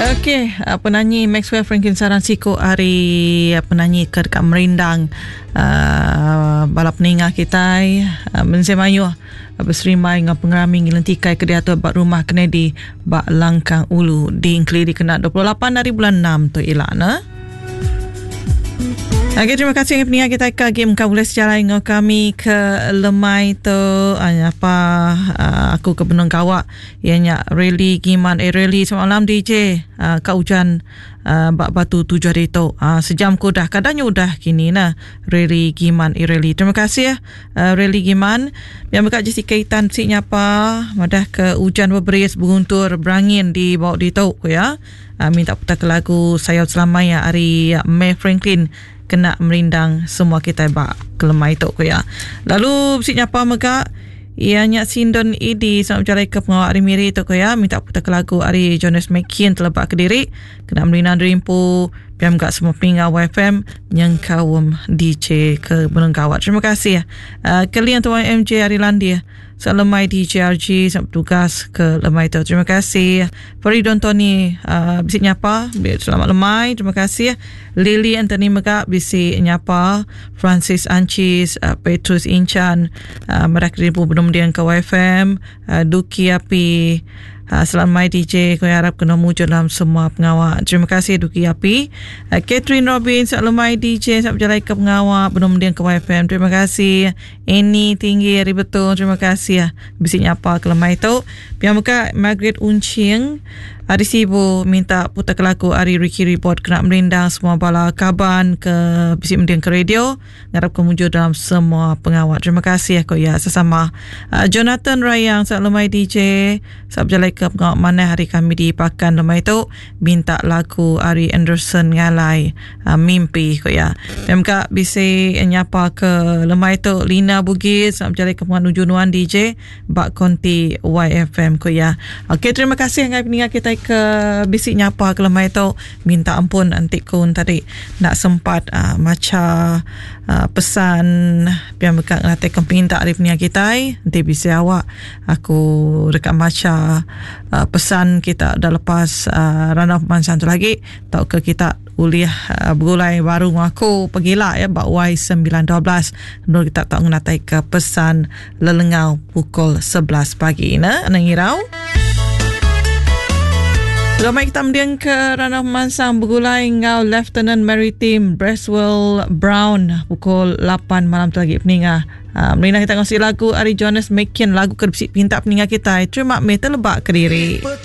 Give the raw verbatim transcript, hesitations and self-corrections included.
Okey, uh, penanyi Maxwell Franklin Saran siku ari uh, penanyi ke dekat Merindang uh, bala peninga kita uh, mensia mayuh uh, berserimai dengan pengerami ngelentikai ke diatur bak rumah Kennedy bak Langkang Ulu di Engkeli dikena dua puluh lapan hari bulan enam tu ilana. Okey, terima kasih pendengar kita ke game kau boleh sejalan dengan kami ke lemai tu apa aku ke Benung Gawak ianya Rally Giman eh Rally selamat malam D J ka hujan bak batu tujuh hari tu sejam ku dah kadangnya udah kini nah Rally Giman eh Rally. Terima kasih Rally Giman yang berkat Jessica Itan si nyapa madah ke hujan berberis berguntur berangin di bawah di tu ya. Minta putar ke lagu Sayau Selamanya ari May Franklin kena merindang semua kita bak kelemai tu ku ya. Lalu bisi nyapa mega ia nyak Sindon Idi selamat berjalan ke pengawal ari Miri tu ku ya, minta putar ke lagu ari Jonas McKean telebak ke diri kena merindang derimpu piam gak semua pinggal Y F M nyengkaum D J ke Benung Gawat. Terima kasih. Uh, kalian tuan M J ari Landia selemai D J R G sampai tugas ke lemai tu. Terima kasih. Faridon Tony uh, bisi nyapa, selamat lemai. Terima kasih. Lily Anthony mega bisi nyapa, Francis Ancis, uh, Petrus Inchan, uh, mereka ribu belum dia ke Y F M, uh, Duki Api. Uh, selamat D J, kau harap kena mujur dalam semua pengawal. Terima kasih Duki Api. Uh, Catherine Robin, selamat D J, selamat berjalan ke pengawal belum dia ke Y F M. Terima kasih. Ini tinggi hari betul. Terima kasih. Bisi nyapa ke lemai tu. Pihak muka Margaret Uncing Ari Sibu minta putar ke lagu Ari Ricky Report kena merindang semua bala kaban ke bisi mending ke radio. Ngarap kemujur dalam semua pengawal. Terima kasih aku ya sesama. Uh, Jonathan Rayang selamat lemai D J. Selamat berjalan ke pengawal mana hari kami di Pakan lemai tu minta lagu Ari Anderson ngalai uh, mimpi ko ya. Pihak muka bisi nyapa ke lemai tu Lina Bugis selamat berjalan ke pengawal nuju nuan D J bak konti Y F M ko ya. Okey, terima kasih ngai pendengar kita ke bisik nyapa ke lemai tu. Minta ampun antik kun tadi nak sempat uh, maca uh, pesan biar mereka ngelatih kempinta dari pendengar kita. Nanti bisa awak aku dekat maca uh, pesan kita dah lepas uh, rana pemansang tu lagi tau ke kita uliah uh, bergulai baru aku pergilah ya bak Y sembilan dua belas nur kita tak ngenatai ke pesan lelengau pukul sebelas pagi nah nang irau. Ramai kita mendiang ke Ranah Mansang bergulai ngau Lieutenant Maritime Braswell Brown pukul lapan malam tu lagi peningah. Uh, Melina kita kongsi lagu Ari Jonas McKean lagu ke pinta peningah kita. Terima meh terlebak ke diri.